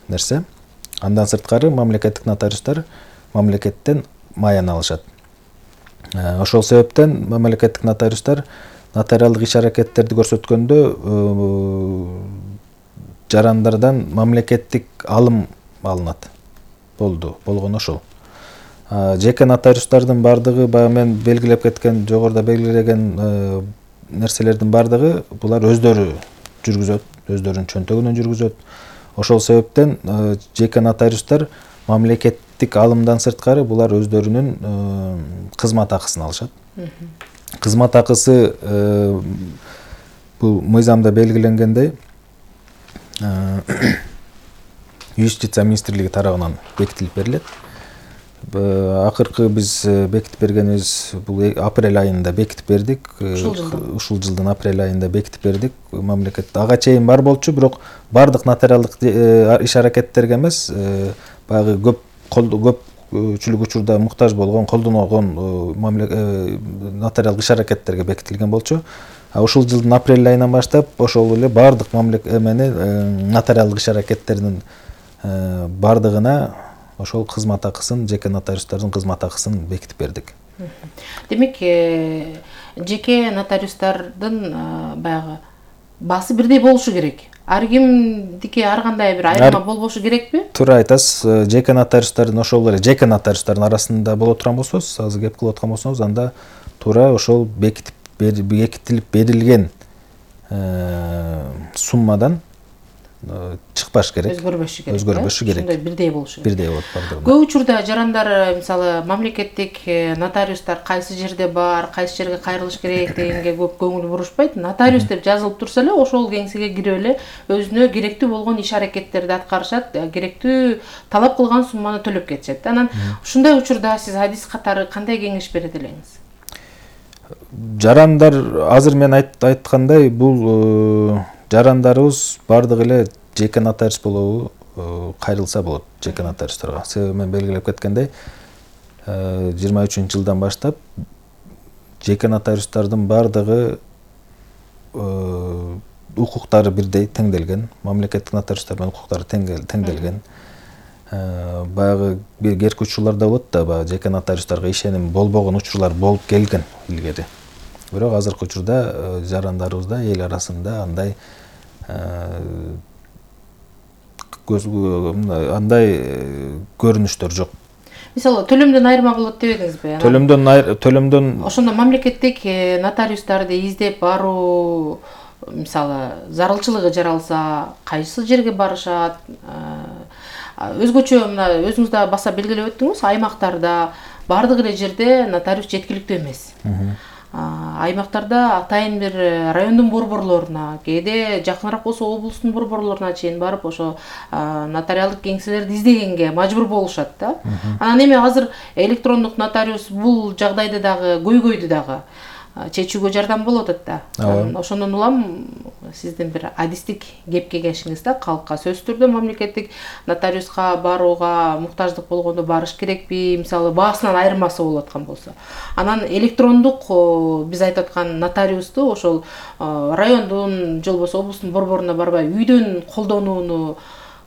нерсе. Андан сырткары мамлекеттик нотариустар мамлекеттен маян алышат. Ошол себептен мамлекеттик нотариустар нотариалдык иш-аракеттерди көрсөткөндө жарандардан мамлекеттик алым алынат. Болгону ошол. Жеке нотариустардын бардыгы баягы мен белгилеп кеткен, жогоруда белгилеген нерселердин бардыгы булар өздөрү жүргүзөт, өздөрүнүн чөнтөгүнөн жүргүзөт. Ошол себептен жеке нотариустар мамлекеттик алымдан сырткары булар өздөрүнүн кызмат акысын алышат. Кызмат акысы бул мыйзамда белгиленгендей Юстиция министрлиги тарабынан бекитилип берилет. Акыркы биз бекитип бергенибиз бул апрель айында бекитип бердик. Ушул жылдын апрель айында бекитип бердик. Мамлекет ага чейин бар болчу, бирок бардык нотариалдык иш-аракеттерге эмес, баягы көпчүлүк учурда муктаж болгон, колдонгон нотариалдык иш-аракеттерге бекитилген болчу. Ушул жылдын апрель айынан баштап ошол эле бардык нотариалдык иш-аракеттердин бардыгына ошол кызмат акысын, жеке нотариустардын кызмат акысын бекитип бердик. Демек, жеке нотариустардын баягы баасы бирдей болушу керек. Ар кимдики ар кандай бир айырма болбошу керекпи? Туура айтасыз. Жеке нотариустардын ошол эле жеке нотариустардын арасында боло турган болсоңуз, азыр кеп кылып аткан болсоңуз, анда туура ошол бекитилип берилген суммадан чыкпаш керек. Өзгөрбөшү керек. Ошондой бирдей болушу керек. Бирдей болот бардыгы. Көп учурда жарандар мисалы мамлекеттик нотариустар кайсы жерде бар, кайсы жерге кайрылыш керек дегенге көп көңүл бурушпайт. Нотариус деп жазылып турса эле ошол кеңсеге кирип эле өзүнө керектүү болгон иш-аракеттерди аткарышат, керектүү талап кылган сумманы төлөп кетишет. Анан ушундай учурда сиз адис катары кандай кеңеш берет элеңиз? Жарандар азыр мен айткандай, бул жарандарыбыз бардыгы эле жеке нотариус болобу кайрылса болот жеке нотариустарга. Себеби мен белгилеп кеткендей, 23-жылдан баштап жеке нотариустардын бардыгы укуктары бирдей теңделген, мамлекеттик нотариустар менен укуктары теңделген. Баягы берки учурларда болот да, баягы жеке нотариустарга ишеним болбогон учурлар болуп келген илгери. Бирок азыркы учурда жарандарыбызда эл арасында андай көрүнүштөр жок. Мисалы, төлөмдөн айырма болот дебедиңизби? Төлөмдөн ошондо мамлекеттик нотариустарды издеп баруу, мисалы, зарылчылыгы жаралса, кайсы жерге барышат? Өзгөчө мына өзүңүз да баса белгилеп өттүңүз, аймактарда бардык эле жерде нотариус жеткиликтүү эмес. Аймактарда атайын бир райондун борборлоруна, кээде жакыныраак болсо облустун борборлоруна чейин барып, ошо нотариалдык кеңселерди издегенге мажбур болушат да. Анан эми азыр электрондук нотариус бул жагдайды дагы көйгөйдү дагы чечүүгө жардам болот да. Ошондон улам сиздин бир адистик кеп кеңешиңиз да калкка сөзсүз түрдө мамлекеттик нотариуска барууга муктаждык болгондо барыш керекпи, мисалы баасынан айырмасы болуп аткан болсо. Анан электрондук биз айтып аткан нотариусту ошол райондун же болбосо облустун борборуна барбай үйдөн колдонууну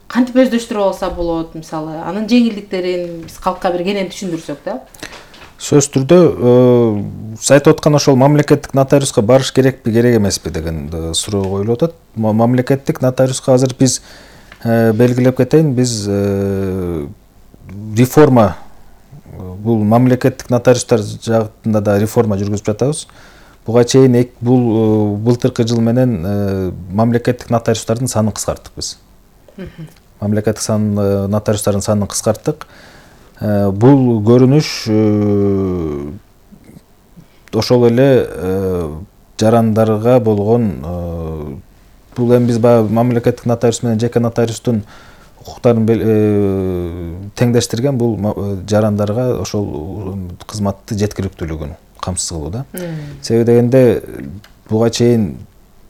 кантип өздөштүрүп алса болот, мисалы, анын жеңилдиктерин биз калкка бир кенен түшүндүрсөк да. Сөз түрдө сиз айтып аткан ошол мамлекеттик нотариуска барыш керекпи, керек эмеспи деген суроо коюлуп атат. Мамлекеттик нотариуска азыр биз белгилеп кетейин, биз реформа, бул мамлекеттик нотариустар жагында да реформа жүргүзүп жатабыз. Буга чейин бул былтыркы жыл менен мамлекеттик нотариустардын санын кыскарттык биз. Мамлекеттик нотариустардын санын кыскарттык. Бул көрүнүш ошол эле жарандарга болгон, бул эми биз баягы мамлекеттик нотариус менен жеке нотариустун укуктарын теңдештирген, бул жарандарга ошол кызматты жеткиликтүүлүгүн камсыз кылуу да. Себеби дегенде буга чейин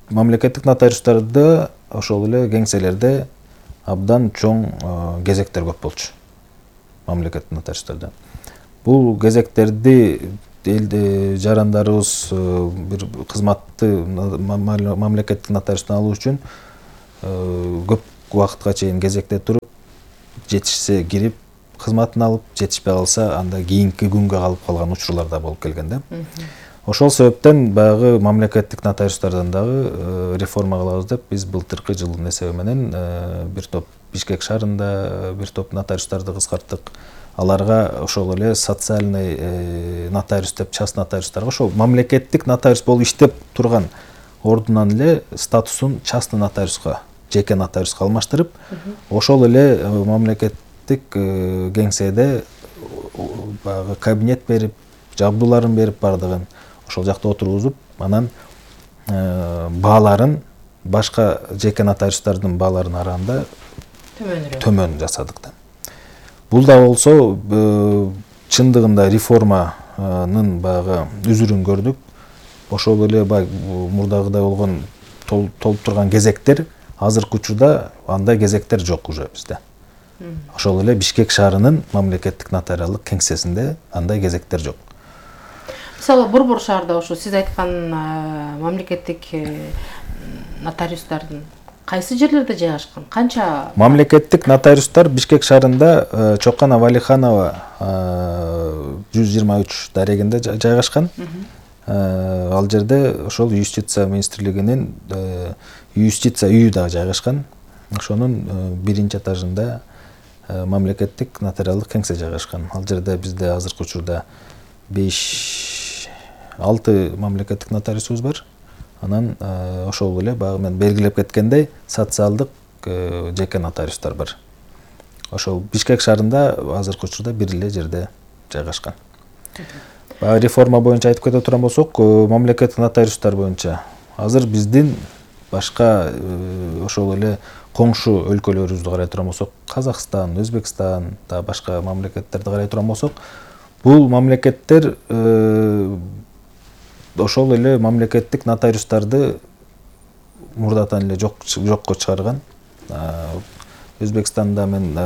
мамлекеттик нотариустарда ошол эле кеңселерде абдан чоң кезектер көп болчу. Мамлекеттик нотариустарда. Бул кезектерди жарандарыбыз бир кызматты мамлекеттик нотариустан алуу үчүн көп убакытка чейин кезекте туруп, жетишсе кирип кызматын алып, жетишпей калса анда кийинки күнгө калып калган учурлар да болуп келген да. Ошол себептен баягы мамлекеттик нотариустардан дагы реформа кылабыз деп биз былтыркы жылдын эсеби менен бир топ Бишкек шаарында бир топ нотариустарды кыскарттык. Аларга ошол эле социальный нотариус деп, частный нотариустарга ошол мамлекеттик нотариус болуп иштеп турган ордунан эле статусун частный нотариуска, жеке нотариуска алмаштырып, ошол эле мамлекеттик кеңседе баягы кабинет берип, жабдууларын берип бардыгын ошол жакта отургузуп, анан бааларын башка жеке нотариустардын бааларынын арасында төмөн жасадык да. Бул да болсо чындыгында реформанын баягы үзүрүн көрдүк. Ошол эле мурдагыдай болгон толуп турган кезектер азыркы учурда андай кезектер жок уже бизде. Ошол эле Бишкек шаарынын мамлекеттик нотариалдык кеңсесинде андай кезектер жок. Мисалы Борбор шаарда ошо сиз айткан мамлекеттик нотариустардын кайсы жерлерде жайгашкан? Канча? Мамлекеттик нотариустар Бишкек шаарында Чоккана Валиханова 123 дарегинде жайгашкан. Ал жерде ошол юстиция министрлигинин юстиция үйү да жайгашкан. Ошонун биринчи этажында мамлекеттик нотариалдык кеңсе жайгашкан. Ал жерде бизде азыркы учурда 5-6 мамлекеттик нотариусубуз бар. Анан ошол эле баягы мен белгилеп кеткендей социалдык жеке нотариустар бар. Ошол Бишкек шаарында азыркы учурда бир эле жерде жайгашкан. Реформа боюнча айтып кете турган болсок, мамлекеттик нотариустар боюнча азыр биздин башка ошол эле коңшу өлкөлөрүбүздү карай турган болсок, Казакстан, Өзбекстан, да башка мамлекеттерди карай турган болсок, бул мамлекеттер ошол эле мамлекеттик нотариустарды мурдатан эле жокко чыгарган. Өзбекстанда мен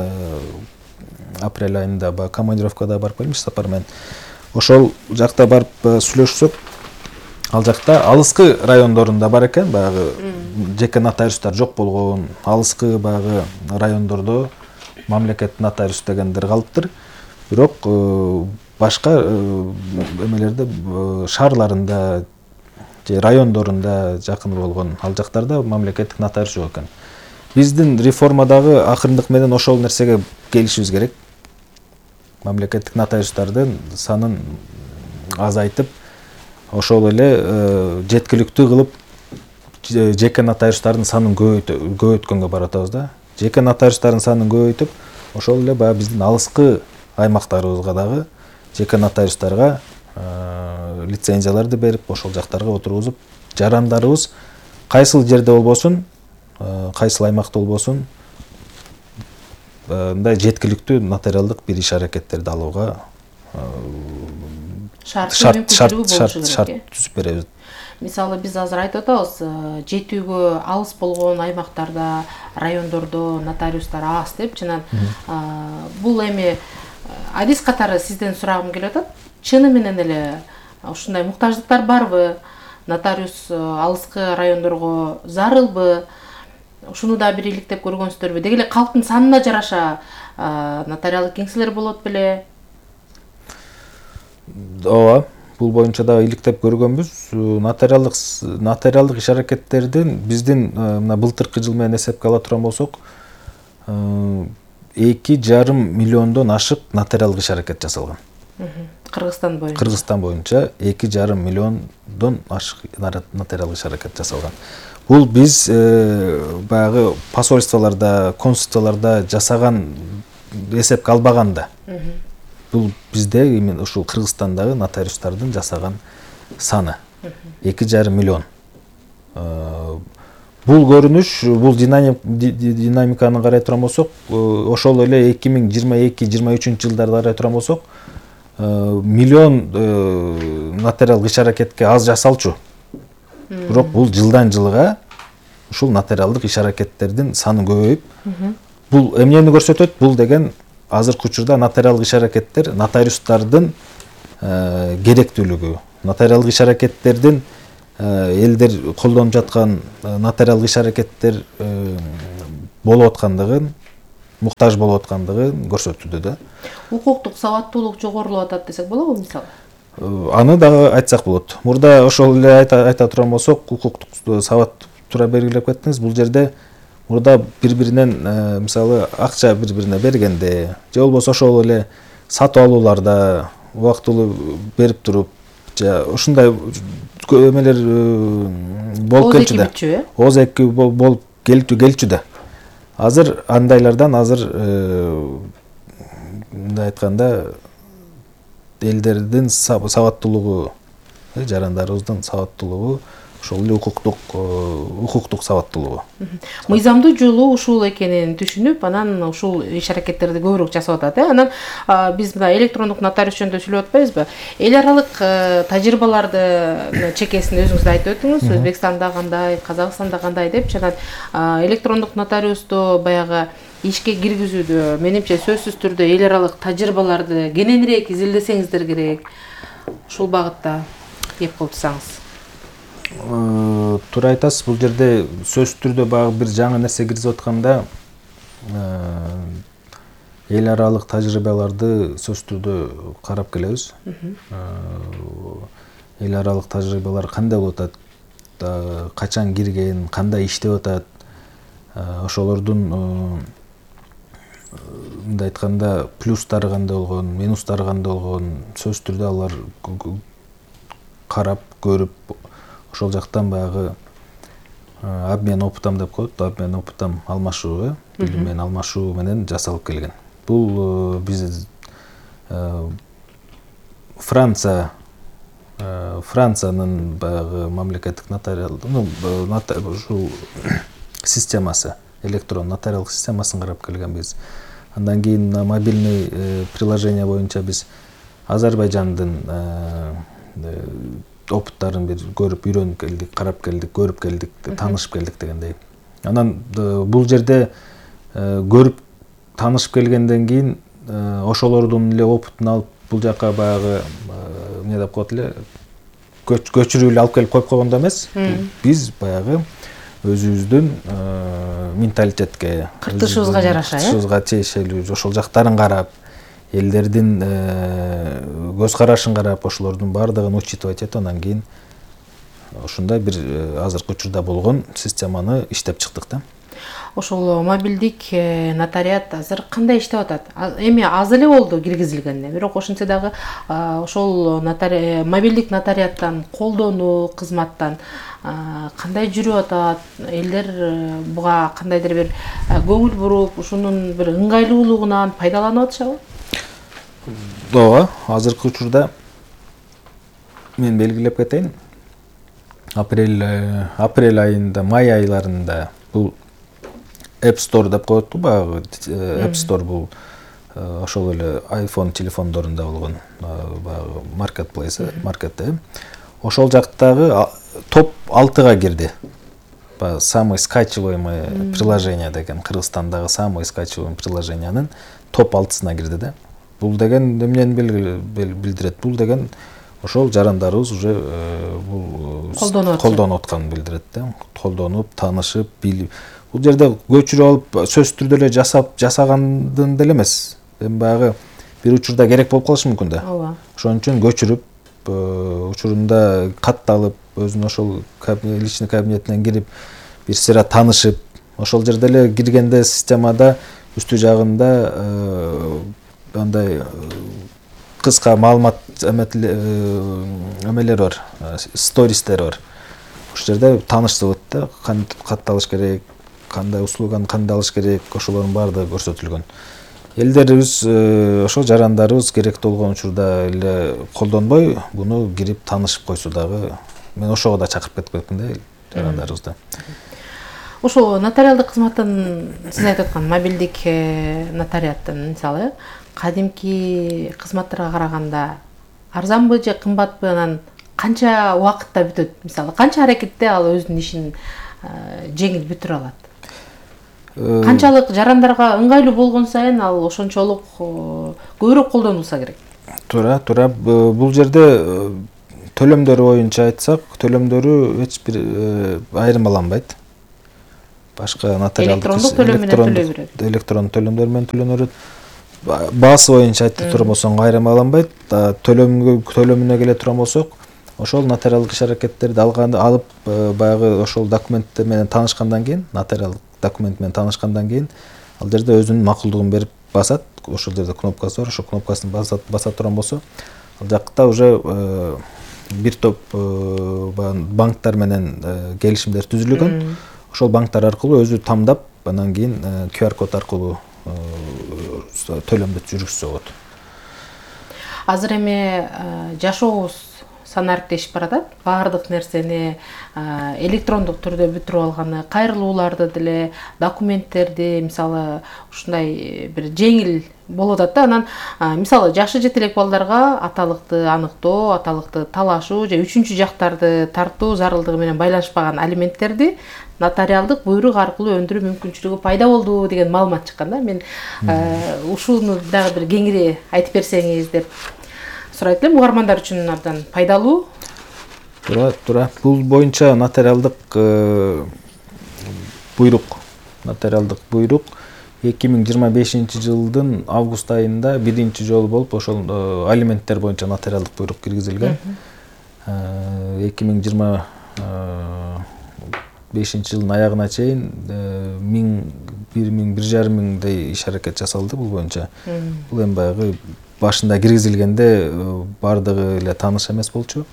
апрель айында командировкада барып келдим, сапар менен. Ошол жакта барып сүйлөшсөк, ал жакта алыскы райондорунда бар экен, баягы жеке нотариустар жок болгон, алыскы баягы райондордо мамлекеттик нотариус дегендер калыптыр. Бирок башка эмелерде шаарларында же райондорунда жакын болгон ал жактарда мамлекеттик нотариус жок экен. Биздин реформадагы акырындык менен ошол нерсеге келишибиз керек. Мамлекеттик нотариустардын санын азайтып, ошол эле жеткиликтүү кылып жеке нотариустардын санын көбөйткөнгө баратабыз да. Жеке нотариустардын санын көбөйтүп, ошол эле баягы биздин алыскы аймактарыбызга дагы жеке нотариустарга лицензияларды берип, ошол жактарга отургузуп, жарандарыбыз кайсыл жерде болбосун, кайсыл аймакта болбосун, мындай жеткиликтүү нотариалдык бир иш-аракеттерди алууга шарт түзүп беребиз. Мисалы биз азыр айтып атабыз, жетүүгө алыс болгон аймактарда, райондордо нотариустар аз деп, жана бул эми адис катары сизден сурагым келип атат. Чыны менен эле ушундай муктаждыктар барбы? Нотариус алыскы райондорго зарылбы? Ушуну да бир иликтеп көргөнсүздөрбү? Деги эле калктын санына жараша нотариалдык кеңселер болот беле? Ооба, бул боюнча да иликтеп көргөнбүз. Нотариалдык иш-аракеттердин биздин мына былтыркы жыл менен эсепке ала турган болсок, 2,5 миллиондон ашык нотариалдык иш-аракет жасалган. Кыргызстан боюнча. Кыргызстан боюнча 2,5 миллиондон ашык нотариалдык иш-аракет жасалган. Бул биз баягы посольстволордо, консулцияларда жасаган эсепке албаган да. Бул бизде именно ушул Кыргызстандагы нотариустардын жасаган саны 2,5 миллион. Бул көрүнүш, бул динамиканы карай турган болсок, ошол эле 2022-23 жылдарда карай турган болсок, миллион нотариалдык иш-аракетке аз жасалчу. Бирок бул жылдан жылга ушул нотариалдык иш-аракеттердин саны көбөйүп, бул эмнени көрсөтөт? Бул деген азыркы учурда нотариалдык иш-аракеттер нотариустардын керектүүлүгү, нотариалдык иш-аракеттердин элдер колдонуп жаткан нотариалдык иш-аракеттер болуп аткандыгын муктаж болуп аткандыгын көрсөтүүдө да. Укуктук сабаттуулук жогорулап атат десек болобу мисалы? Аны дагы айтсак болот. Мурда ошол эле айта турган болсок, укуктук сабат туура белгилеп кеттиңиз. Бул жерде мурда бири-биринен мисалы акча бири-бирине бергенде же болбосо ошол эле сатып алууларда убактылуу берип туруп ушундай эмелер болуп келчү да. Ооз-эки болуп келчү да. Азыр андайлардан мындай айтканда элдердин сабаттуулугу, жарандарыбыздын сабаттуулугу ошол эле укуктук сабаттуулугу. Мыйзамдуу жолу ушул экенин түшүнүп, анан ушул иш-аракеттерди көбүрөөк жасап атат. Анан биз мына электрондук нотариус жөнүндө сүйлөп атпайбызбы? Эл аралык тажрыйбаларды чекесин өзүңүз айтып өттүңүз. Өзбекстанда кандай, Казакстанда кандай деп, анан электрондук нотариусту баягы ишке киргизүүдө менимче сөзсүз түрдө эл аралык тажрыйбаларды кененирээк изилдесеңиздер керек. Ушул багытта кеп кылсаңыз. Туура айтасыз. Бул жерде сөзсүз түрдө баягы бир жаңы нерсе киргизип атканда эл аралык тажрыйбаларды сөзсүз түрдө карап келебиз. Эл аралык тажрыйбалар кандай болуп атат, качан кирген, кандай иштеп атат, ошолордун мындай айтканда плюстары кандай болгон, минустары кандай болгон, сөзсүз түрдө алар карап, көрүп, ошол жактан баягы обмен опытом деп коет, обмен опытом алмашуу, билим менен алмашуу менен жасалып келген. Бул биз Франциянын баягы мамлекеттик нотариалдык ушул системасы, электрон нотариалдык системасын карап келгенбиз. Андан кийин мобильный приложение боюнча биз Азербайжандын опыттарын бир көрүп, үйрөнүп келдик, карап келдик, көрүп келдик, таанышып келдик дегендей. Анан бул жерде көрүп, таанышып келгенден кийин ошолордун эле опытын алып, бул жака баягы эмне деп коет эле, көчүрүп эле алып келип коюп койгондо эмес, биз баягы өзүбүздүн менталитетке, кыртышыбызга жараша, кыртышыбызга тиешелүү ошол жактарын карап, элдердин көз карашын карап, ошолордун баардыгын учитывать этип, андан кийин ушундай бир азыркы учурда болгон системаны иштеп чыктык да. Ошол мобилдик нотариат азыр кандай иштеп атат? Эми аз эле болду киргизилгенине, бирок ошентсе дагы ошол мобилдик нотариаттан колдонуу кызматтан кандай жүрүп атат? Элдер буга кандайдыр бир көңүл буруп, ушунун бир ыңгайлуулугунан пайдаланып атышабы? Ооба, азыркы учурда мен белгилеп кетейин. Апрель айында, май айларында бул App Store деп коет го, баягы App Store бул ошол эле iPhone телефондорунда болгон баягы marketplace, маркетте. Ошол жактагы топ 6-га кирди. Баягы самый скачиваемый приложение деген, Кыргызстандагы самый скачиваемый приложениянын топ 6-сына кирди да. Бул деген эмнени билдирет? Бул деген ошол жарандарыбыз уже бул колдонуп атканын билдирет да. Колдонуп, таанышып, билип. Бул жерде көчүрүп алып, сөзсүз түрдө эле жасагандын деле эмес. Эми баягы бир учурда керек болуп калышы мүмкүн да. Ооба. Ошон үчүн көчүрүп, учурунда катталып, өзүнүн ошол личный кабинетине кирип, бир сыйра таанышып, ошол жерде эле киргенде системада үстү жагында андай кыска маалымат эмелер бар, стористер бар. Ошол жерде таанышсып да, кантип катталыш керек, кандай услуганы кандай алыш керек, ошолордун баардыгы көрсөтүлгөн. Элдерибиз, ошол жарандарыбыз керектүү болгон учурда эле колдонбой, буну кирип таанышып койсо дагы, мен ошого да чакырып кетип кеттим да жарандарыбызды. Ошол нотариалдык кызматтын сиз айтып аткан мобилдик нотариаттын мисалы кадимки кызматтарга караганда арзанбы же кымбатпы, анан канча убакытта бүтөт? Мисалы, канча аракетте ал өзүнүн ишин жеңил бүтүрө алат? Канчалык жарандарга ыңгайлуу болгон сайын ал ошончолук көбүрөөк колдонулса керек. Туура. Бул жерде төлөмдөрү боюнча айтсак, төлөмдөрү эч бир айырмаланбайт. башка нотариалдык электрондук төлөм менен төлөй берет. Электрондук төлөмдөр менен төлөнөрөт. Баасы боюнча айтып турган болсоң кайрамаланбайт. Төлөмүнө келе турган болсок, ошол нотариалдык иш-аракеттерди алып баягы ошол документтер менен таанышкандан кийин, нотариалдык документ менен таанышкандан кийин ал жерде өзүнүн макулдугун берип басат. Ошол жерде кнопкасы бар, ошол кнопкасын баса турган болсо, ал жакта уже бир топ банктар менен келишимдер түзүлгөн. Ошол банктар аркылуу өзү тамдап, анан кийин QR код аркылуу төлөмдү жүргүзсө болот. Азыр эми жашообуз санариптешип баратат. Баардык нерсени электрондук түрдө бүтүрүп алганы, кайрылууларды деле, документтерди мисалы ушундай бир жеңил болуп атат да. Анан мисалы жашы жете элек балдарга аталыкты аныктоо, аталыкты талашуу же үчүнчү жактарды тартуу зарылдыгы менен байланышпаган алименттерди нотариалдык буйрук аркылуу өндүрүү мүмкүнчүлүгү пайда болду деген маалымат чыккан да. Мен ушуну дагы бир кеңири айтып берсеңиз деп сурайт элем. Угармандар үчүн абдан пайдалуу. Туура. Бул боюнча нотариалдык буйрук 2025-жылдын август айында биринчи жолу болуп ошол алименттер боюнча нотариалдык буйрук киргизилген. 2025-жылдын аягына чейин 1,5 миңдей иш-аракет жасалды бул боюнча. Бул эми баягы башында киргизилгенде бардыгы эле тааныш эмес болчу.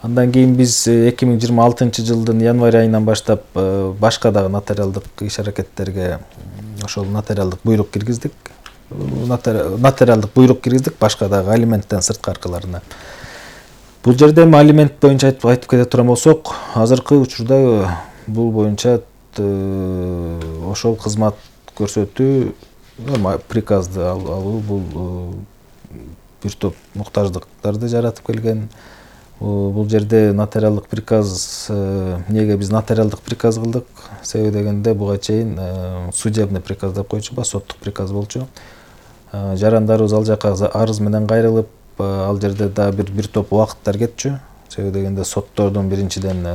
Андан кийин биз 2026-жылдын январь айынан баштап башка дагы нотариалдык иш-аракеттерге ошол нотариалдык буйрук киргиздик. Нотариалдык буйрук киргиздик башка дагы алименттен сырткаркыларына. Бул жерде эми алимент боюнча айтып кете турган болсок, азыркы учурда бул боюнча ошол кызмат көрсөтүү, приказды алуу бул бир топ муктаждыктарды жаратып келген. Бул жерде нотариалдык приказ, эмнеге биз нотариалдык приказ кылдык? Себеби дегенде буга чейин судебный приказ деп койчу, соттук приказ болчу. Жарандарыбыз ал жака арыз менен кайрылып, ал жерде да бир топ убакыттар кетчү. Себеби дегенде соттордун биринчиден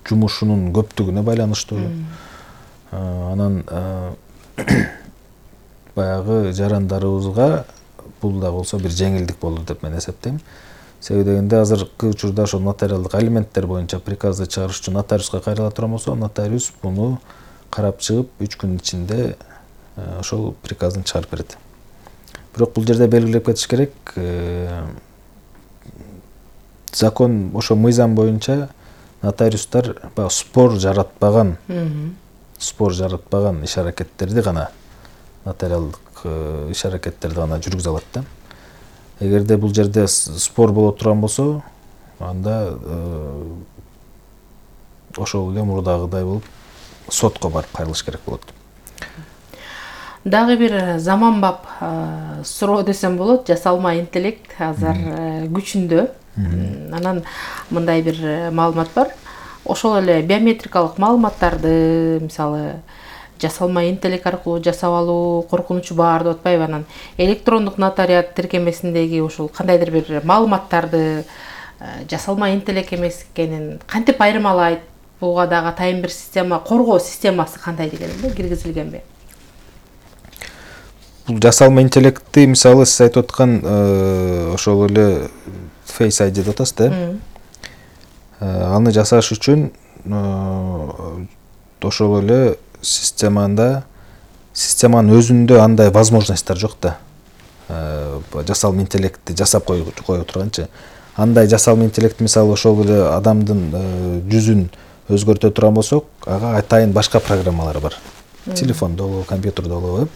жумушунун көптүгүнө байланыштуу. Анан баягы жарандарыбызга бул да болсо бир жеңилдик болду деп мен эсептейм. Себеби дегенде азыркы учурда ошол нотариалдык алименттер боюнча приказды чыгарыш үчүн нотариуска кайрыла турган болсо, нотариус муну карап чыгып 3 күн ичинде ошол приказын чыгарып берет. Бирок бул жерде белгилеп кетиш керек, закон ошо мыйзам боюнча нотариустар спор жаратпаган иш-аракеттерди гана, нотариалдык иш-аракеттерди гана жүргүзө алат да. Эгерде бул жерде спор боло турган болсо, анда ошол эле мурдагыдай болуп сотко барып кайрылыш керек болот. Дагы бир заманбап суроо десем болот. Жасалма интеллект азыр күчүндө. Анан мындай бир маалымат бар. Ошол эле биометрикалык маалыматтарды мисалы жасалма интеллект аркылуу жасап алуу коркунучу бар деп атпайбы? Анан электрондук нотариат тиркемесиндеги ошол кандайдыр бир маалыматтарды жасалма интеллект эмес экенин кантип айырмалайт? Буга дагы атайын бир система, коргоо системасы кандай дегенде киргизилгенби? Бул жасалма интеллектти мисалы сиз айтып аткан ошол эле Face ID деп атасыз да? Аны жасаш үчүн ошол эле системанын өзүндө андай возможностьтар жок да. Жасалма интеллектти жасап кое турганчы. Андай жасалма интеллект мисалы ошол эле адамдын жүзүн өзгөртө турган болсок, ага атайын башка программалар бар. Телефондо болобу, компьютерде болобу.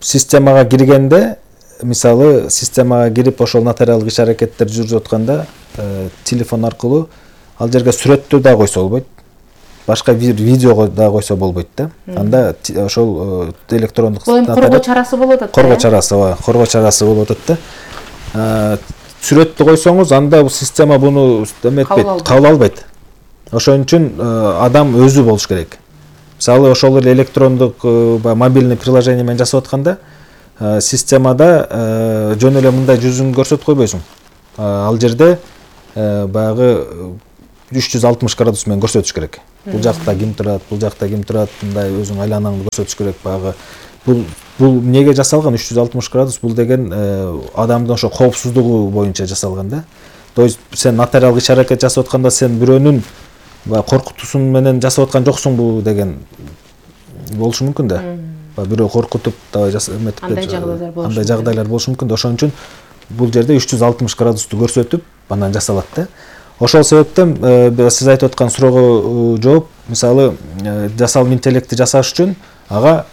Системага киргенде, мисалы системага кирип ошол нотариалдык иш-аракеттер жүрүп атканда, телефон аркылуу ал жерге сүрөттү да койсо болбойт. Башка видеого да койсо болбойт да. Анда ошол электрондук коргоо чарасы болуп атат. Коргоо чарасы болуп атат да. Сүрөттү койсоңуз, анда бул система буну эметпейт, кабыл албайт. Ошон үчүн адам өзү болуш керек. Мисалы ошол эле электрондук мобильный приложение менен жасап атканда, системада жөн эле мындай жүзүн көрсөтүп койбойсуң. Ал жерде баягы 360 градус менен көрсөтүш керек. Бул жакта ким турат, бул жакта ким турат, мындай өзүң айланаңды көрсөтүш керек багы. Бул эмнеге жасалган 360 градус? Бул деген адамдын ошо коопсуздугу боюнча жасалган да. То есть сен нотариалдык иш-аракет жасап атканда сен бирөөнүн коркутуусун менен жасап аткан жоксуңбу деген болушу мүмкүн да. Бирөө коркутуп андай жагдайлар болушу мүмкүн да. Ошон үчүн бул жерде 360 градусту көрсөтүп анан жасалат да. Ошол себептен сиз айтып аткан суроого жооп, мисалы жасалма интеллектти жасаш үчүн ага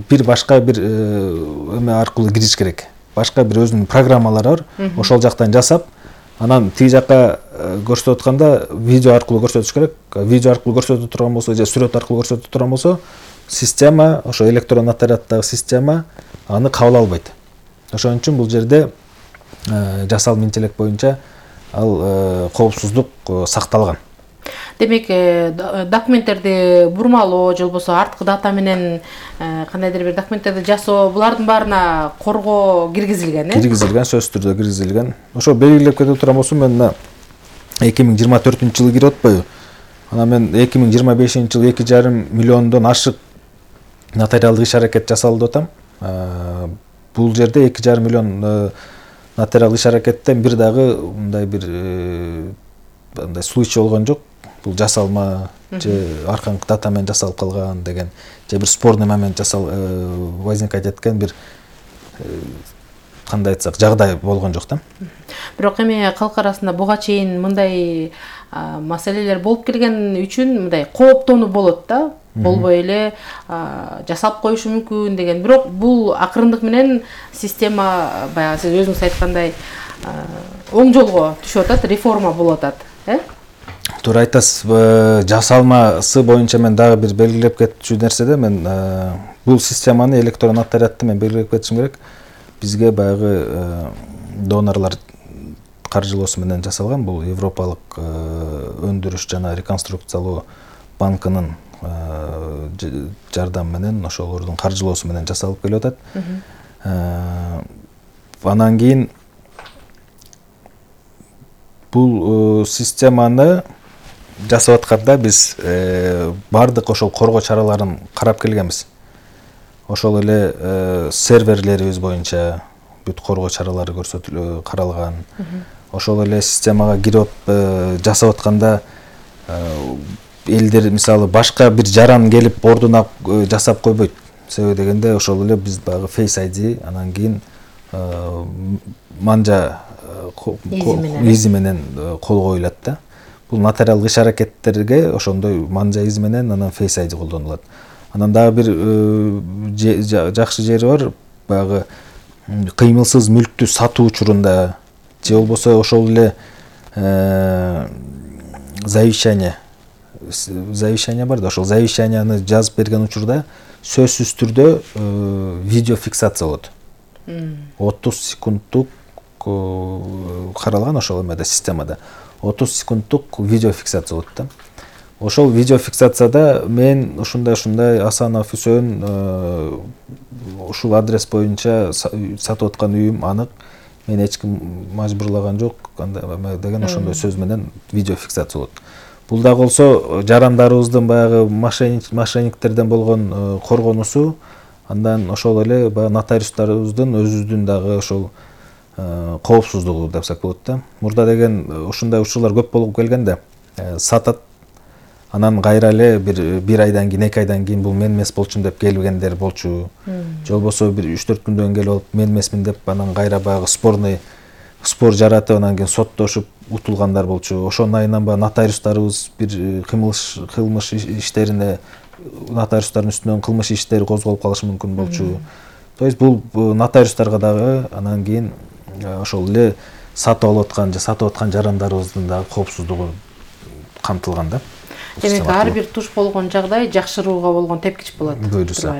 бир башка бир эме аркылуу кириш керек. Башка бир өзүнүн программалары бар. Ошол жактан жасап, анан тиги жакка көрсөтүп атканда видео аркылуу көрсөтүш керек. Видео аркылуу көрсөтүп турган болсо же сүрөт аркылуу көрсөтүп турган болсо, система, ошо электрон нотариаттагы система аны кабыл албайт. Ошон үчүн бул жерде жасалма интеллект боюнча ал коопсуздук сакталган. Демек, документтерди бурмалоо же болбосо арткы дата менен кандайдыр бир документтерди жасоо, булардын баарына коргоо киргизилген, Киргизилген, сөзсүз түрдө киргизилген. Ошо белгилеп кетип турган болсом, мен 2024-жылы кирип атпайбы? Анан мен 2025-жылы 2,5 миллиондон ашык нотариалдык иш-аракет жасалды деп атам. Бул жерде 2,5 миллион нотариалдык иш-аракеттен бир дагы мындай бир андай случай болгон жок. Бул жасалма же арканкы дата менен жасалып калган деген, же бир спорный момент возникать эткен бир кандай айтсак жагдай болгон жок да. Бирок эми калк арасында буга чейин мындай маселелер болуп келген үчүн мындай кооптонуу болот да. Болбой эле жасап коюшу мүмкүн деген. Бирок бул акырындык менен система баягы сиз өзүңүз айткандай оң жолго түшүп атат, реформа болуп атат, Туура айтасыз. Жасалмасы боюнча мен дагы бир белгилеп кетчү нерседе, мен бул системаны электрон нотариатты мен белгилеп кетишим керек. Бизге баягы донорлор каржылоосу менен жасалган. Бул Европалык өндүрүш жана реконструкциялоо банкынын жардам менен, ошолордун каржылоосу менен жасалып келип атат. Анан кийин бул системаны жасап атканда биз бардык ошол коргоо чараларын карап келгенбиз. Ошол эле серверлерибиз боюнча бүт коргоо чаралары каралган. Ошол эле системага кирип жасап атканда элдер мисалы башка бир жаран келип ордуна жасап койбойт. Себеби дегенде ошол эле биз багы Face ID, анан кийин манжа изи менен кол коюлат да. Бул нотариалдык иш-аракеттерге ошондой манжа изи менен анан Face ID колдонулат. Анан дагы бир жакшы жери бар, баягы кыймылсыз мүлктү сатуу учурунда же болбосо ошол эле завещание бар да, ошол завещанияны жазып берген учурда сөзсүз түрдө видео фиксация болот. 30 секунддук каралган ошол эмеде системада. 30 секунддук видео фиксация болот да. Ошол видео фиксацияда мен ушундай Асанов Үсөн ушул адрес боюнча сатып аткан үйүм анык, мен эч ким мажбурлаган жок деген ошондой сөз менен видео фиксация болот. Бул да болсо жарандарыбыздын баягы мошенниктерден болгон коргонуусу, андан ошол эле баягы нотариустарыбыздын өзүбүздүн дагы ошол коопсуздугу депсек болот да. Мурда деген ушундай учурлар көп болуп келген да. Сатат, анан кайра эле бир айдан кийин, 2 айдан кийин бул мен эмес болчумун деп келгендер болчу. Же болбосо бир 3-4 күндөн келип алып мен эмесмин деп анан кайра баягы спор жаратып анан кийин соттошуп утулгандар болчу. Ошонун айынан баягы нотариустарыбыз бир кылмыш иштерине, нотариустардын үстүнөн кылмыш иштери козголуп калышы мүмкүн болчу. То есть бул нотариустарга дагы анан кийин ошол эле сатып алып аткан же сатып аткан жарандарыбыздын дагы коопсуздугу камтылган да. Демек ар бир туш болгон жагдай жакшырууга болгон тепкич болот. Буйруса.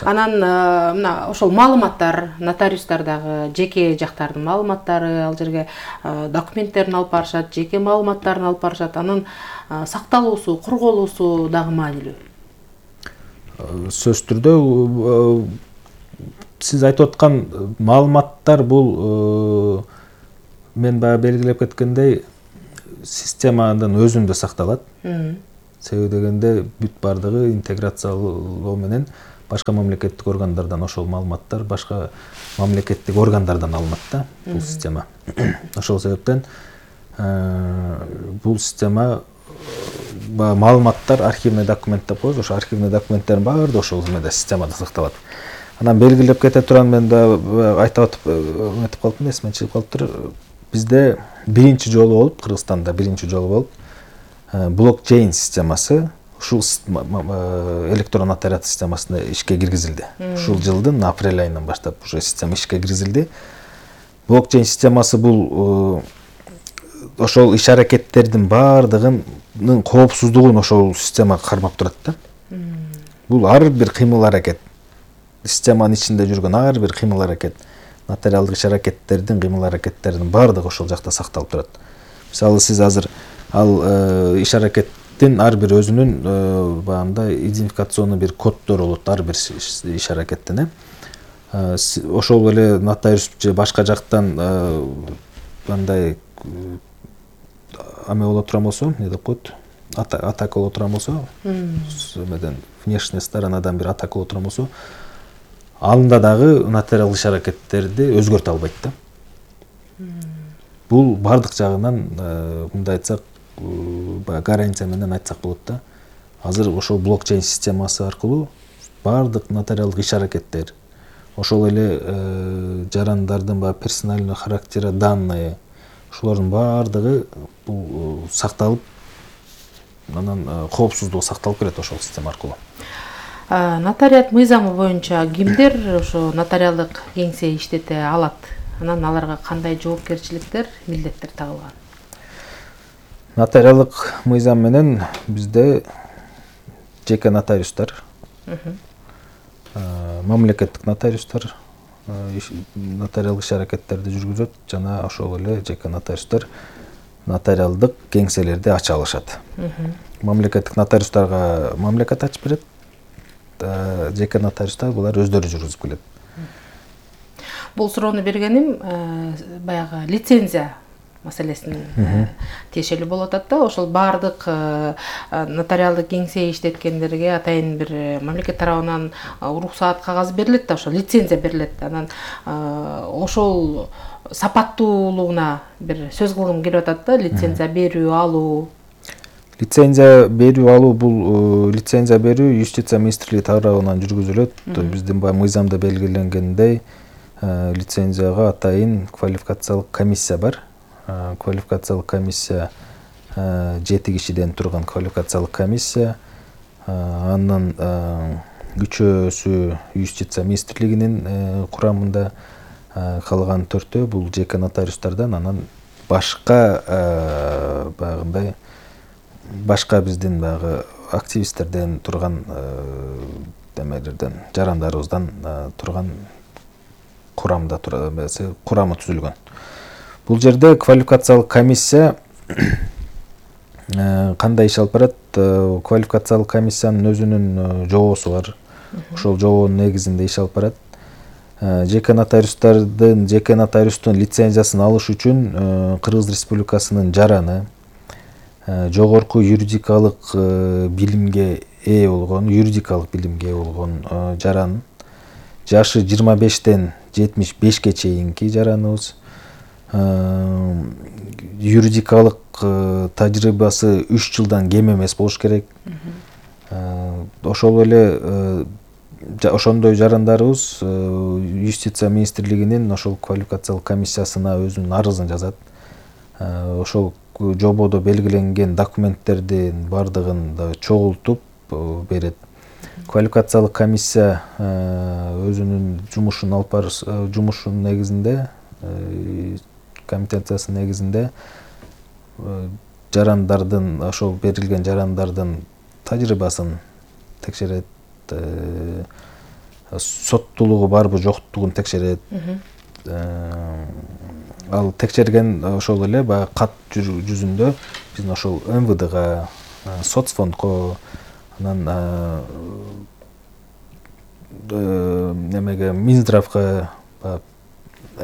Анан мына ошол маалыматтар, нотариустардагы жеке жактардын маалыматтары, ал жерге документтерин алып барышат, жеке маалыматтарын алып барышат. Анын сакталуусу, корголуусу дагы маанилүү. Сөзсүз түрдө сиз айтып аткан маалыматтар бул мен баягы белгилеп кеткендей системанын өзүндө сакталат. Себеби дегенде бүт бардыгы интеграциялоо менен башка мамлекеттик органдардан ошол маалыматтар башка мамлекеттик органдардан алынат да бул система. Ошол себептен бул система маалыматтар архивный документ деп коебуз. Ошо архивный документтердин баардыгы ошол эмеде системада сакталат. Анан белгилеп кете турган мен да айтып өтүп калдым, эсимден чыгып калыптыр. Бизде биринчи жолу болуп, Кыргызстанда биринчи жолу болуп блокчейн системасы ушул электрон нотариат системасына ишке киргизилди. Ушул жылдын апрель айынан баштап уже система ишке киргизилди. Блокчейн системасы бул ошол иш-аракеттердин баардыгынын коопсуздугун ошол система кармап турат да. Бул ар бир кыймыл-аракет, системанын ичинде жүргөн ар бир кыймыл-аракет, нотариалдык иш-аракеттердин кыймыл-аракеттеринин баардыгы ошол жакта сакталып турат. Мисалы сиз азыр ал иш-аракеттин ар бир өзүнүн баягындай идентификационный бир коддору болот ар бир иш-аракеттин. Ошол эле нотариус же башка жактан мындай аме боло турган болсо, эмне деп коет? Атака боло турган болсо, эмеден внешняя сторонадан бир атака боло турган болсо, анда дагы нотариалдык иш-аракеттерди өзгөртө албайт да. Бул бардык жагынан мындай айтсак, гарантия менен айтсак болот да. Азыр ошол блокчейн системасы аркылуу бардык нотариалдык иш-аракеттер, ошол эле жарандардын персональный характера данные, ошолордун бардыгы бул сакталып, анан коопсуздугу сакталып келет ошол система аркылуу. Нотариат мыйзамы боюнча кимдер ошо нотариалдык кеңсе иштете алат? Анан аларга кандай жоопкерчиликтер, милдеттер тагылган? Нотариалдык мыйзам менен бизде жеке нотариустар, мамлекеттик нотариустар нотариалдык иш-аракеттерди жүргүзөт жана ошол эле жеке нотариустар нотариалдык кеңселерди ача алышат. Мамлекеттик нотариустарга мамлекет ачып берет, жеке нотариустар булар өздөрү жүргүзүп келет. Бул суроону бергеним баягы лицензия маселесин тиешелүү болуп атат да. Ошол бардык нотариалдык кеңсе иштеткендерге атайын бир мамлекет тарабынан уруксаат кагазы берилет да, ошол лицензия берилет. Анан ошол сапаттуулугуна бир сөз кылгым келип атат да, лицензия берүү, алуу. Лицензия берүү, алуу бул лицензия берүү юстиция министрлиги тарабынан жүргүзүлөт. Биздин мыйзамда белгиленгендей лицензияга атайын квалификациялык комиссия бар. Квалификациялык комиссия 7 кишиден турган квалификациялык комиссия. Андан үчөөсү юстиция министрлигинин курамында, калган 4-өө бул жеке нотариустардан, анан башка баягындай башка биздин баягы активисттерден турган демелерден, жарандарыбыздан турган курамда курамы түзүлгөн. Бул жерде квалификациялык комиссия кандай иш алып барат? Квалификациялык комиссиянын өзүнүн жобосу бар. Ошол жобонун негизинде иш алып барат. Жеке нотариустун лицензиясын алыш үчүн Кыргыз Республикасынын жараны, жогорку юридикалык билимге ээ болгон жаран, жашы 25-тен 75-ке чейинки жараныбыз, юридикалык тажрыйбасы 3 жылдан кем эмес болуш керек. Ошол эле ошондой жарандарыбыз юстиция министрлигинин ошол квалификациялык комиссиясына өзүнүн арызын жазат. Ошол жободо белгиленген документтердин бардыгын да чогултуп берет. Квалификациялык комиссия өзүнүн жумушун алып жумушунун негизинде, компетенциясынын негизинде жарандардын, ошол берилген жарандардын тажрыйбасын текшерет, соттуулугу барбы жоктугун текшерет. Ал текшерген ошол эле баягы кат жүзүндө биздин ошол МВДга, соцфондко, анан немеге Минздравга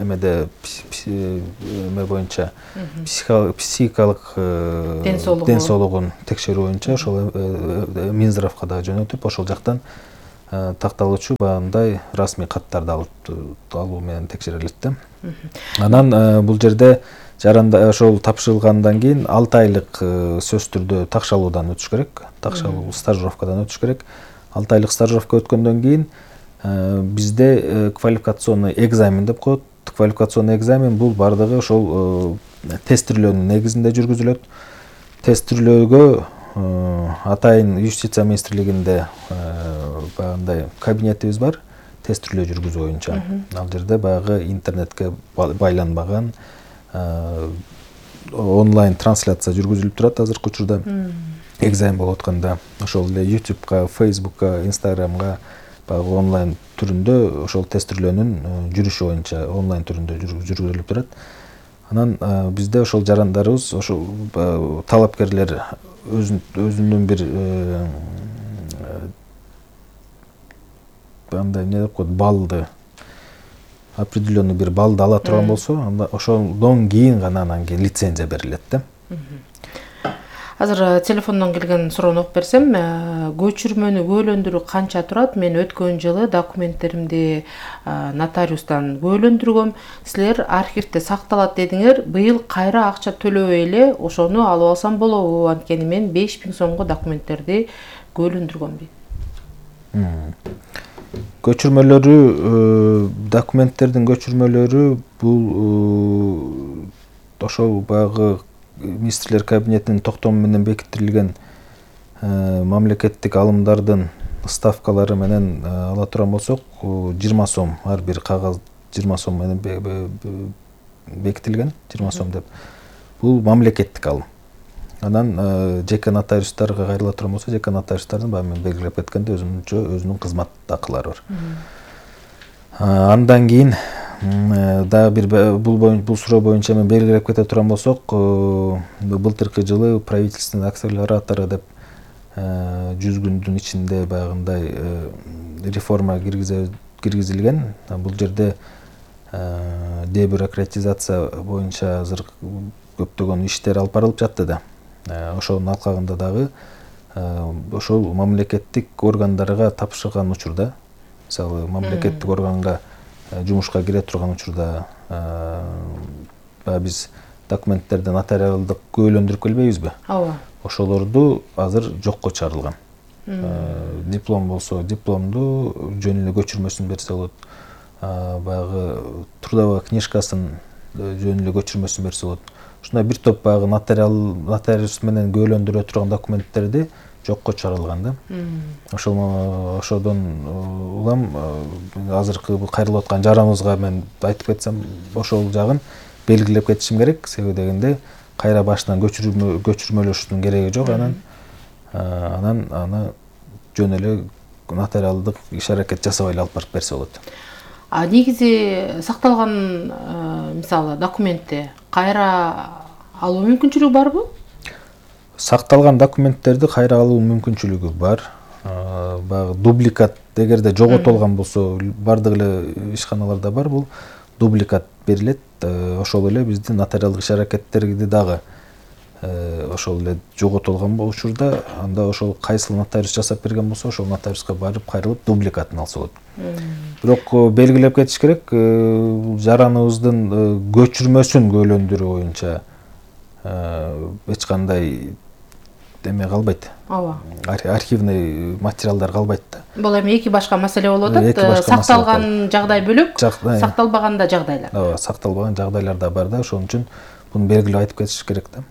эмеде эме боюнча психикалык ден соолугун текшерүү боюнча ошол Минздравга да жөнөтүп, ошол жактан такталуучу баягындай расмий каттарды алуу менен текшерилет да. Анан бул жерде жаранда ошол тапшырылгандан кийин 6 айлык сөзсүз түрдө такшалуудан өтүш керек, такшалуу стажировкадан өтүш керек. 6 айлык стажировка өткөндөн кийин бизде квалификационный экзамен деп коет. Квалификационный экзамен бул бардыгы ошол тестирлөөнүн негизинде жүргүзүлөт. Тестирлөөгө атайын юстиция министрлигинде баягындай кабинетибиз бар, тестирлөө жүргүзүү боюнча. Ал жерде баягы интернетке байланбаган онлайн трансляция жүргүзүлүп турат азыркы учурда. Экзамен болуп атканда ошол эле YouTube'га, Facebook'ка, Instagram'га баягы онлайн түрүндө ошол тестирлөөнүн жүрүшү боюнча онлайн түрүндө жүргүзүлүп турат. Анан бизде ошол жарандарыбыз, ошол талапкерлер өзүнүн бир андай эмне деп коет, балды, определенный бир балды ала турган болсо, анда ошондон кийин гана анан кийин лицензия берилет да. Азыр телефондон келген суроону окуп берсем, көчүрмөнү көөлөндүрүү канча турат? Мен өткөн жылы документтеримди нотариустан көөлөндүргөм. Силер архивде сакталат дедиңер. Быйыл кайра акча төлөбөй эле ошону алып алсам болобу? Анткени мен 5000 сомго документтерди көөлөндүргөм дейт. Көчүрмөлөрү, документтердин көчүрмөлөрү бул ошол баягы министрлер кабинетинин токтому менен бекитилген мамлекеттик алымдардын ставкалары менен ала турган болсок, 20 сом, ар бир кагаз 20 сом менен бекитилген, 20 сом деп. Бул мамлекеттик алым. Анан жеке нотариустарга кайрыла турган болсо, жеке нотариустардын баягы мен белгилеп кеткендей өзүнүн кызмат акылары бар. Андан кийин дагы бир бул суроо боюнча мен белгилеп кете турган болсок, былтыркы жылы правительственный акселератору деп 100 күндүн ичинде баягындай реформа киргизилген. Бул жерде дебюрократизация боюнча азыр көптөгөн иштер алып барылып жатты да. Ошонун алкагында дагы ошол мамлекеттик органдарга тапшырган учурда, мисалы мамлекеттик органга жумушка кире турган учурда биз документтерди нотариалдык көөлөндүрүп келбейбизби? Ооба. Ошолорду азыр жокко чыгарылган. Диплом болсо дипломду, жөн эле көчүрмөсүн берсе болот. Баягы трудовой книжкасын жөн эле көчүрмөсүн берсе болот. Ушундай бир топ баягы нотариус менен көөлөндүрө турган документтерди жокко чыгарылган да. Ошодон улам азыркы кайрылып аткан жараныбызга мен айтып кетсем, ошол жагын белгилеп кетишим керек. Себеби дегенде кайра башынан көчүрмөлөшүүнүн кереги жок. Анан аны жөн эле нотариалдык иш-аракет жасабай эле алып барып берсе болот. Негизи сакталган мисалы документти кайра алуу мүмкүнчүлүгү барбы? Сакталган документтерди кайра алуу мүмкүнчүлүгү бар. Баягы дубликат эгерде жоготулган болсо, бардык эле ишканаларда бар, бул дубликат берилет. Ошол эле биздин нотариалдык иш-аракеттерди дагы ошол эле жоготулган учурда, анда ошол кайсыл нотариус жасап берген болсо, ошол нотариуска барып кайрылып дубликатын алса болот. Бирок белгилеп кетиш керек, жараныбыздын көчүрмөсүн көөлөндүрүү боюнча эч кандай эме калбайт. Ооба. Архивный материалдар калбайт да. Бул эми эки башка маселе болуп атат. Сакталган жагдай бөлөк, сакталбаган жагдайлар. Ооба, сакталбаган жагдайлар да бар да, ошон үчүн буну белгилеп айтып кетиш керек да.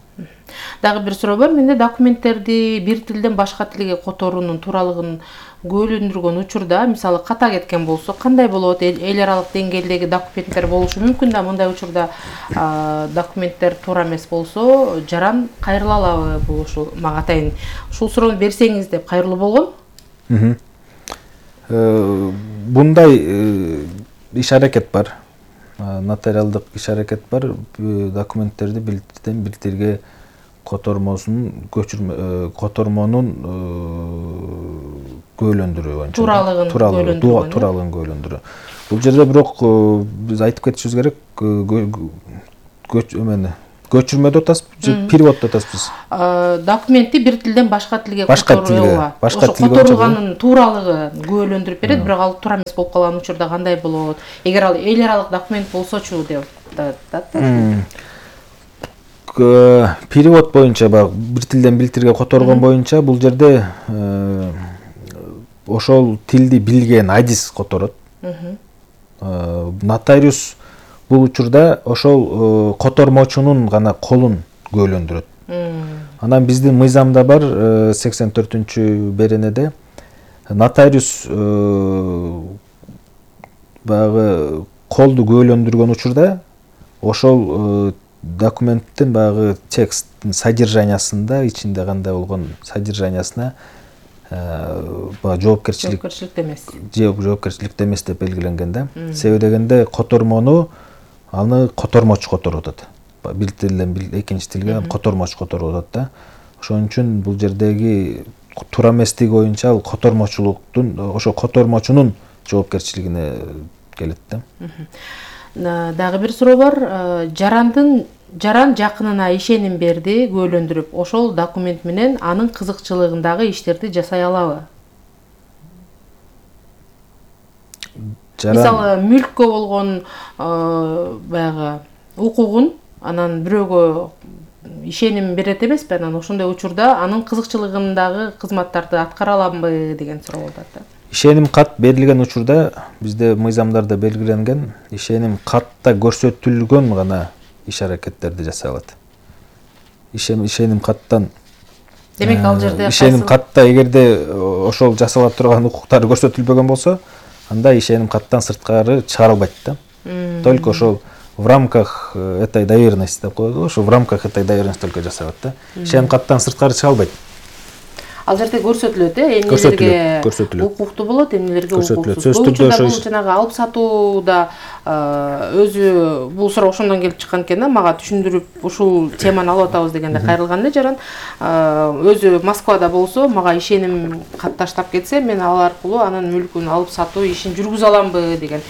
Дагы бир суроо бар. Менде документтерди бир тилден башка тилге которуунун тууралыгын көөлөндүргөн учурда, мисалы ката кеткен болсо, кандай болот? Эл аралык деңгээлдеги документтер болушу мүмкүн да, мындай учурда документтер туура эмес болсо, жаран кайрыла алабы? Бул ушул мага атайын ушул суроону берсеңиз деп кайрылуу болгон. Бундай иш-аракет бар. Нотариалдык иш-аракет бар. Документтерди бир тилден бир тилге котормонун көөлөндүрүү боюнча. Тууралыгын көөлөндүрүү. Бул жерде бирок биз айтып кетишибиз керек, көчүрмө деп атасызбы же перевод деп атасызбыз? Документти бир тилден башка тилге которулганын тууралыгы күбөлөндүрүп берет, бирок ал туура эмес болуп калган учурда кандай болот? Эгер ал эл аралык документ болсочу деп атат. Перевод боюнча баягы бир тилден бир тилге которгон боюнча бул жерде ошол тилди билген адис которот. Нотариус бул учурда ошол котормочунун гана колун күбөлөндүрөт. Анан биздин мыйзамда бар 84-беренеде нотариус баягы колду күбөлөндүргөн учурда ошол документтин баягы тексттин содержаниясында ичинде кандай болгон содержаниясына баягы жоопкерчиликте эмес деп белгиленген да. Себеби дегенде котормону аны котормочу которуп атат. Бир тилден экинчи тилге котормочу которуп атат да. Ошон үчүн бул жердеги туура эместиги боюнча ал котормочулуктун, ошо котормочунун жоопкерчилигине келет да. Дагы бир суроо бар. Жаран жакынына ишеним берди, күбөлөндүрүп, ошол документ менен анын кызыкчылыгындагы иштерди жасай алабы? Мисалы, мүлккө болгон баягы укугун анан бирөөгө ишеним берет эмеспи? Анан ошондой учурда анын кызыкчылыгындагы кызматтарды аткара аламбы деген суроо болуп атат. Ишеним кат берилген учурда бизде мыйзамдарда белгиленген, ишеним катта көрсөтүлгөн гана иш аракеттерди жасай алат. Ишеним каттан демек ал жерде ишеним катта эгерде ошол жасала турган укуктары көрсөтүлбөгөн болсо, анда ишеним каттан сырткары чыгарылбайт да. Только ошол в рамках этой доверенности деп коет, ошо в рамках этой доверенности только жасай алат да. Ишеним каттан сырткары чыга албайт. Ал жерде көрсөтүлөт, эмнелерге укуктуу болот, эмнелерге укуксуз. Бул учурда бул жанагы алып сатууда өзү бул суроо ошондон келип чыккан экен да, мага түшүндүрүп ушул теманы алып атабыз дегенде кайрылганда жаран өзү Москвада болсо, мага ишеним кат таштап кетсе, мен ал аркылуу анын мүлкүн алып сатуу ишин жүргүзө аламбы деген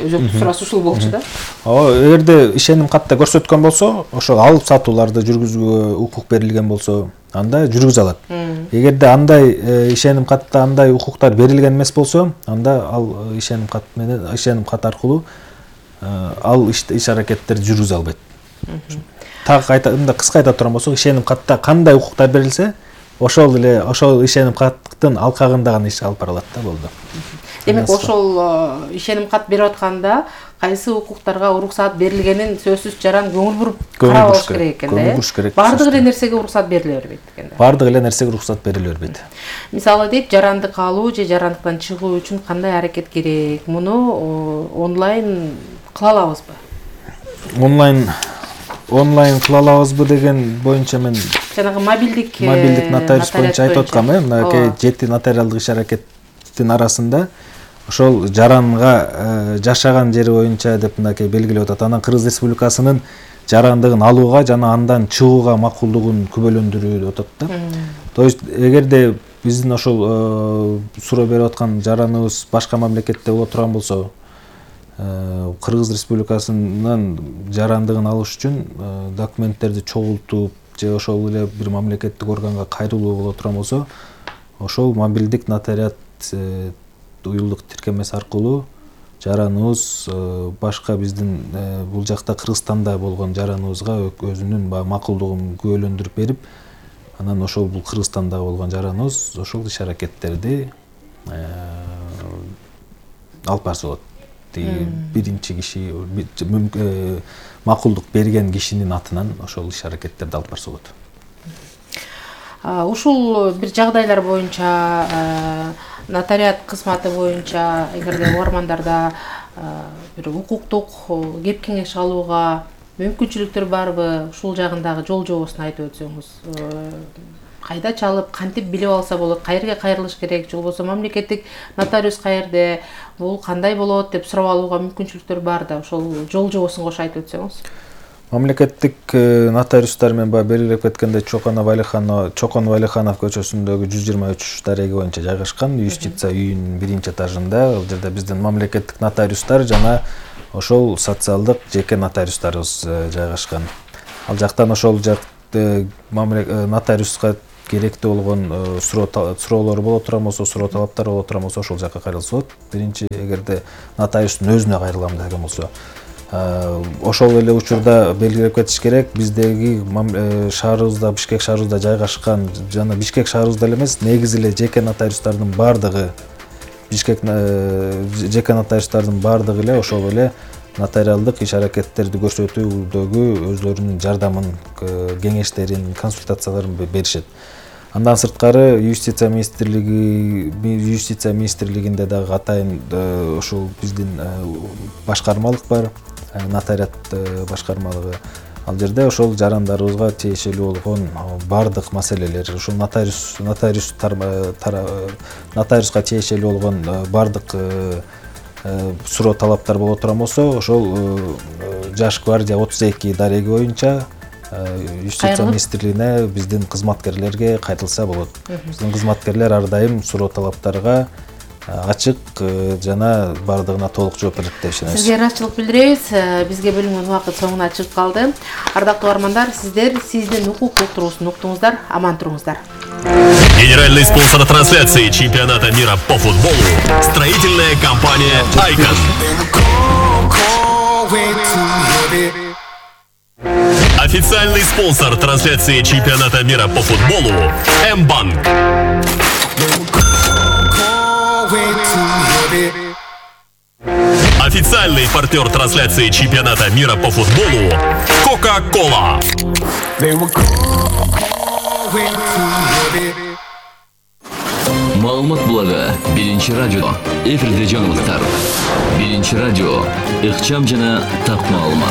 өзөктүк суроосу ушул болчу да. Эгерде ишеним катта көрсөткөн болсо, ошол алып сатууларды жүргүзүүгө укук берилген болсо, анда жүргүзө алат. Эгерде андай ишеним катта андай укуктар берилген эмес болсо, анда ал ишеним кат менен ишеним кат аркылуу ал иш аракеттерди жүргүзө албайт. Так мындай кыска айта турган болсок, ишеним катта кандай укуктар берилсе, ошол эле ошол ишеним каттын алкагында гана иш алып бара алат да, болду. Демек ошол ишеним кат берип атканда кайсы укуктарга уруксаат берилгенин сөзсүз жаран көңүл буруп карабаш керек экен да. Бардык эле нерсеге уруксаат бериле бербейт экен да. Бардык эле нерсеге уруксаат бериле бербейт. Мисалы дейт, жарандык алуу же жарандыктан чыгуу үчүн кандай аракет керек? Муну онлайн кыла алабызбы? Онлайн кыла алабызбы деген боюнча мен жанагы мобилдик нотариус боюнча айтып аткам, мынакей 7 нотариалдык иш аракеттин арасында ошол жаранга жашаган жери боюнча деп мынакей белгилеп атат. Анан Кыргыз Республикасынын жарандыгын алууга жана андан чыгууга макулдугун күбөлөндүрүү деп атат да. То есть эгерде биздин ошол суроо берип аткан жараныбыз башка мамлекетте боло турган болсо, Кыргыз Республикасынын жарандыгын алыш үчүн документтерди чогултуп же ошол эле бир мамлекеттик органга кайрылуу боло турган болсо, ошол мобилдик нотариат уюлдук тиркемеси аркылуу жараныбыз башка биздин бул жакта Кыргызстанда болгон жараныбызга өзүнүн макулдугун күбөлөндүрүп берип, анан ошол бул Кыргызстанда болгон жараныбыз ошол иш аракеттерди алып барса болот. Биринчи киши макулдук берген кишинин атынан ошол иш аракеттерди алып барса болот. Ушул бир жагдайлар боюнча нотариат кызматы боюнча эгерде угармандарда бир укуктук кеп кеңеш алууга мүмкүнчүлүктөр барбы? Ушул жагындагы жол жобосун айтып өтсөңүз. Кайда чалып, кантип билип алса болот, каерге кайрылыш керек, же болбосо мамлекеттик нотариус каерде, бул кандай болот деп сурап алууга мүмкүнчүлүктөр бар да, ошол жол жобосун кошо айтып өтсөңүз. Мамлекеттик нотариустар менен баягы белгилеп кеткендей Чоконов Алиханов көчөсүндөгү 123 дареги боюнча жайгашкан юстиция үйүнүн 1-этажында. Ал жерде биздин мамлекеттик нотариустар жана ошол социалдык жеке нотариустарыбыз жайгашкан. Ал жактан ошол нотариуска керектүү болгон суроолор боло турган болсо, суроо талаптар боло турган болсо, ошол жакка кайрылса болот. Биринчи, эгерде нотариустун өзүнө кайрылам деген болсо. Ошол эле учурда белгилеп кетиш керек, биздеги шаарыбызда, Бишкек шаарыбызда жайгашкан жана Бишкек шаарыбызда эле эмес, негизи эле жеке нотариустардын бардыгы эле ошол эле нотариалдык иш-аракеттерди көрсөтүүдөгү өзлөрүнүн жардамын, кеңештерин, консультацияларын беришет. Андан сырткары юстиция министрлигинде дагы атайын ошол биздин башкармалык бар, нотариат башкармалыгы. Ал жерде ошол жарандарыбызга тиешелүү болгон бардык маселелер, ошол нотариуска тиешелүү болгон бардык суроо талаптар боло турган болсо, ошол Жаш гвардия 32 дареги боюнча юстиция министрлигине биздин кызматкерлерге кайтылса болот. Биздин кызматкерлер ар дайым суроо талаптарга ачык жана бардыгына толук жооп берет деп ишенебиз. Сизге ыраазычылык билдиребиз. Бизге бөлүнгөн убакыт соңуна чыгып калды. Ардактуу угармандар, сиздер сиздин укуктук туруусун уктуңуздар, аман туруңуздар. Генеральный спонсор трансляции чемпионата мира по футболу – строительная компания «Айкон». Официальный спонсор трансляции чемпионата мира по футболу – М-банк. Официальный партнер трансляции чемпионата мира по футболу – Кока-Кола. Маалымат булагы 1-чи радио. Эфирде жаңылыктар. 1-чи радио. Ыкчам жана так маалымат.